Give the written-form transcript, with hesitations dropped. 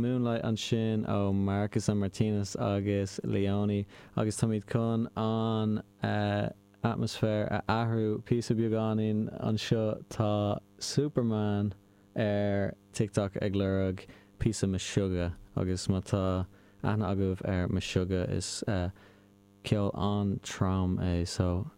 Moonlight ansin ó Marcus and Martinus agus Leony agus táimid chun an atmaisféar a athrú píosa beagáinín anseo. Tá Superman ar TikTok ag lorg píosa Meshuggah agus má tá aithne agaibh ar Meshuggah is ceol an-trom é so.